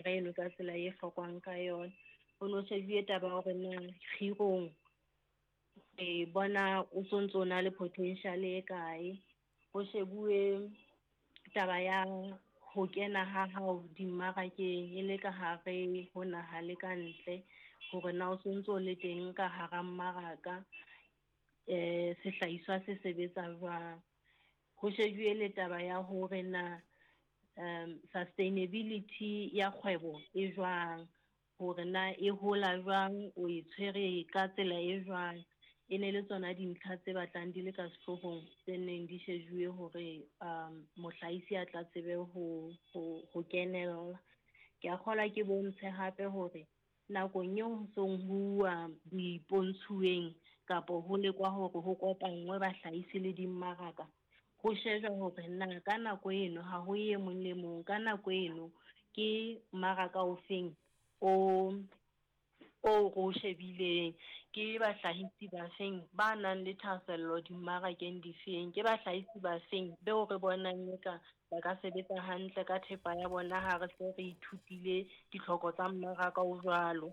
Eno ka tsela e hlokwang ka yona. Ho no shebuwe taba ya hore na kgirong re bona o sontso o na le potential e kae. Ho shebuwe taba ya ho kena ha hao dimmarakeng e le ka hare ho naha le ka ntle, hore na o sontso o le teng ka hara mmaraka, sehlahiswa se sebetsa jwang. Ho shebuwe le taba ya hore na sustainability ya kgwebo e jwang, hore na e hola jwang, o e tshwere ka tsela e jwang. E ne le tsona dintlha tse batlang di le ka sehloohong tse neng di shejuwe hore mohlahisi a tla tsebe ho kenella. Ke a kgolwa ke bontshe hape hore nakong eo ho song ho uwa dipontshuweng kapo ho lekwa hore ho kopanngwe bahlahisi le dimmaraka, ho shejwa hore na ka nako eno ha ho e mong le mong, ka nako eno ke mmaraka ofeng o o ro shebileng, ke bahlahisi ba feng ba nang le thahasello dimmarakeng difeng, ke bahlahisi ba feng beo re bonang eka ba ka sebetsa hantle ka thepa ya bona ha re se re ithutile ditlhoko tsa mmaraka o jwalo.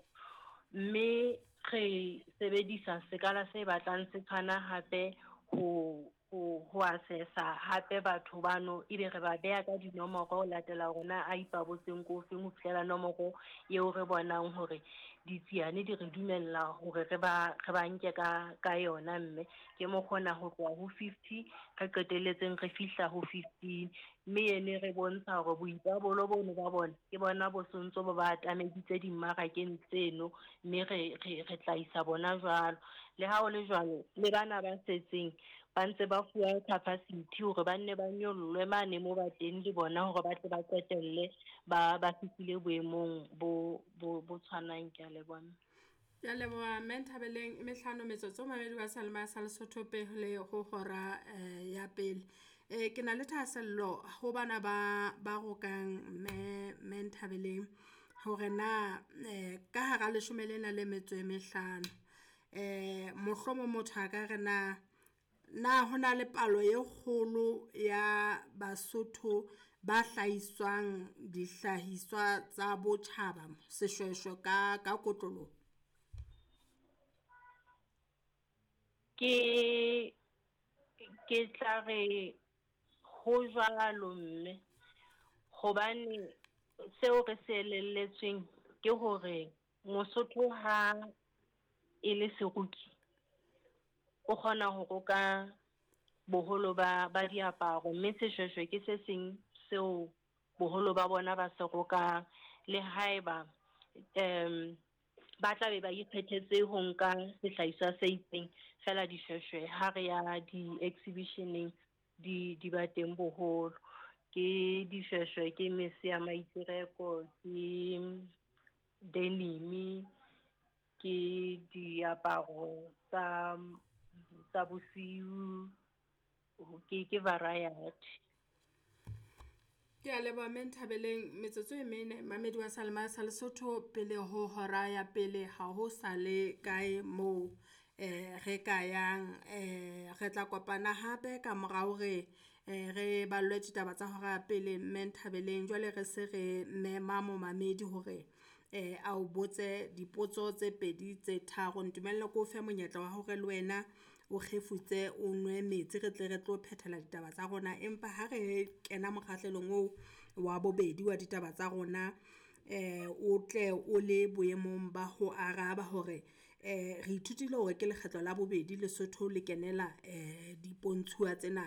Mme re sebedisa sekala se batlang se tshwana hape ho assessa hape batho bano, ebe re ba beha ka dinomoro ho latela hore na a ipabotseng ko feng ho fihlela nomoro eo re bonang hore ditsiane di re dumella hore re ba nke ka yona. Mme ke mo kgona ho tloha ho 50 re qetelletseng re fihla ho 15, mme ene re bontsha hore boipabolo bono ba bona ke bona bo sontso bo ba atameditse dimmarakeng tseno, mme re tla isa bona jwalo. Le ha ho le jwalo, le bana ba setseng ba ntse ba fuwa capacity hore ba nne ba nyollwe mane mo ba teng le bona hore ba tle ba qetelle ba fihlile boemong bo tshwanang. Ke a leboha. Ke a leboha mme Nthabeleng. E mehlano metsotso mamedi wa Salema sa Lesotho pele ho hora ya pele. Ke na le thahasello ho bana ba rokang mme Nthabeleng hore na ka hara leshome lena le metso e mehlano, mohlomong motho a ka re na hona le palo e kgolo ya Basotho ba hlahiswang dihlahiswa tsa botjhaba seshweshwe ka kotloloho? Ke tla re ho jwalo mme, hobane seo re se elelletsweng ke hore Mosotho ha e le seroki o kgona ho roka boholo ba diaparo, mme seshweshwe ke se seng seo boholo ba bona ba se rokang. Le haeba ba tla be ba ikgethetse ho nka sehlahiswa se itseng, fela dishweshwe ha re ya di-exhibitioneng di ba teng boholo. Ke dishweshwe, ke mese ya maitereko, ke denim, ke diaparo tsa bosiu, ke variety. Ke a leboha mme Nthabeleng. Metsotso e mene mamedi wa Salema sa Lesotho pele ho hora ya pele, ha ho sa le kae moo re ka yang. Re tla kopana hape ka mora hore re ballwe ditaba tsa hora ya pele mme Nthabeleng. Jwale re se re mema momamedi hore a o botse dipotso tse pedi tse tharo. Ntumelle ke o fe monyetla wa hore le wena o kgefutse, o nwe metsi, re tle re tlo phethela ditaba tsa rona. Empa ha re kena mokgahlelong oo wa bobedi wa ditaba tsa rona, o tle o le boemong ba ho araba hore re ithutile hore ke lekgetlo la bobedi Lesotho le kenela dipontshuwa tsena.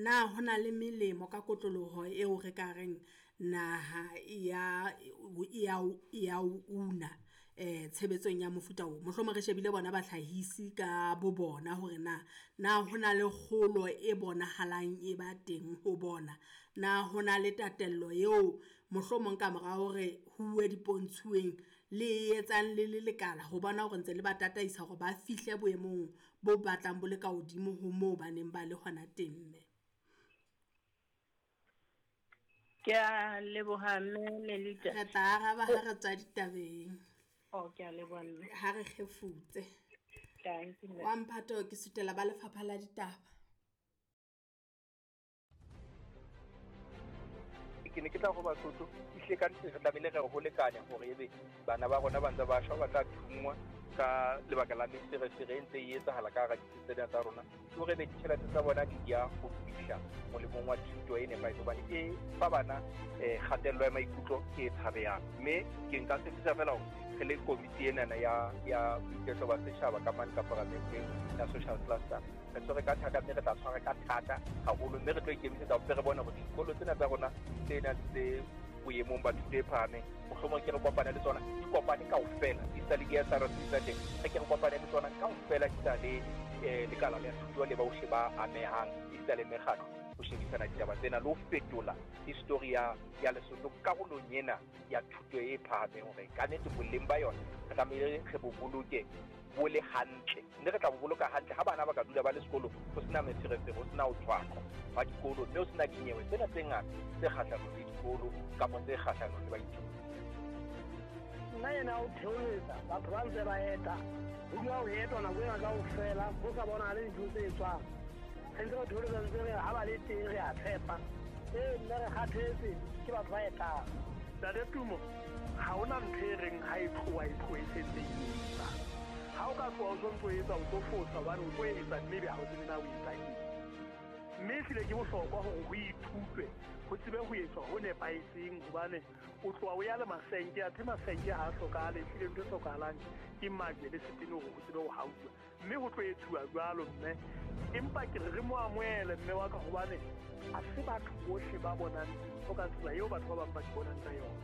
Na hona le melemo ka kotloloho eo re ka reng naha ya una tshebetsong ya mofuta o? Mohlomong re shebile bona bahlahisi ka bo bona hore na hona le kgolo e bonahalang e ba teng ho bona, na hona le tatello eo mohlomong ka mora hore huwe dipontshuweng le etsang le le lekala ho bona hore ntse le ba tataisa hore ba fihle boemong bo batlang bo le ka hodimo ho moo ba neng ba le hona teng mme? Ke a leboha mme Melita. Re tla araba ha re tswa ditabeng. Oh, ke a leboha mme. Ha re kgefutse. Thank you. Wa Mphato ke sutela ba lefapha la ditaba. Ke ne ke tla ho Basotho, ehlile ka nnete re tlamehile re ho lekane hore ebe bana ba rona ba ntse ba shwa, ba tla thunngwa ka lebaka la meferefere e ntse e etsahala ka hara ditsi tsena tsa rona. Ke hore ebe ditjhelete tsa bona di ya ho fihla molemong wa thuto e nepahetseng, hobane e fa bana kgatello ya maikutlo e tshabehang. Mme ke nka tshepisa fela hore re le komiti enana ya boiketlo ba setjhaba ka mane ka paramenteng ya social cluster, re tshwere ka thata, mme re tla tshwara ka thata haholo, mme re tlo ikemisetsa hore re bone hore dikolo tsena tsa rona tsena tse boemong ba thuto e phahameng, mohlomong ke re kopane le tsona, di kopane kaofela, di sa le di-S_R_C tsa teng, re ke re kopane le tsona kaofela, di sa le lekala la thuto le bohle ba amehang, esita le mekgatlo, ho shebisana ditaba tsena le ho fetola history ya Lesotho karolong ena ya thuto e phahameng, hore ka nnete boleng ba yona re tlamehile re bo boloke bo le hantle, mme re tla bo boloka hantle ha bana ba ka dula ba le sekolong, ho sena meferefere, ho sena ho tshwaqwa ba dikolo, mme ho sena dinyewe tsena tse ngata tse kgahlanong le dikolo kapa tse kgahlanong le baithuti. Nna ena o theoletsa batho ba ntse ba eta, ho dula ho etwa nako ena kaofela, ho sa bonahale dintho tse etswang. Re ntse re theoletsa, ntse re ha ba le teng re a tshepa. Ee, nna re kgathetse ke batho ba etang. Ntate Tumo, ha hona ntho e reng ha e tloha e tlohe e sentse e etsa. Ha o ka tloha o sontso etsa, o tlo fosa hobane o tlo etsa mme ebe ha o tsebe na o etsa eng. Mme ehlile ke bohlokwa hore ho ithutwe, ho tsebe ho etswa ho nepahetseng, hobane o tloha o ya le masenke, athe masenke ha a hlokahale, ehlile ntho e hlokahalang ke majwe le setene hore ho tsebe ho hauwa. Mme ho tlo etsuwa jwalo mme, empa ke re re mo amohele mme wa ka, hobane ha se batho bohle ba bonang dintho ka tsela eo batho ba bang ba di bonang ka yona.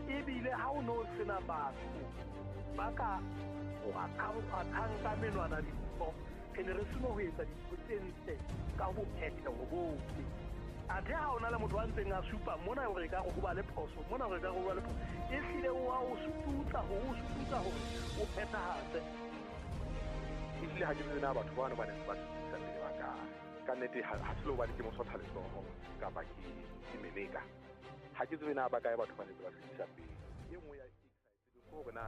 Ebile ha o no sena batho ba ka kgwathang ka menwana dintho, re ne re seno ho etsa dintho tse ntle ka bophetheho bohle. Athe ha ona le motho a ntseng a supa mona hore e ka re ho ba le phoso, mona hore e ka re ho ba le phoso, ehlile o a o sututsa hore o sututsa hore o phethahatse. Ehlile ha ke tsebe na batho bano ba ne ba sutusa pele ba kae. Ka nnete ha se le hobane ke mosotha letsoho kapa ke meleka. Ha ke tsebe na ba kae batho ba ne ba sutusa pele. E nngwe ya e ke sa e tsebeng ke hore na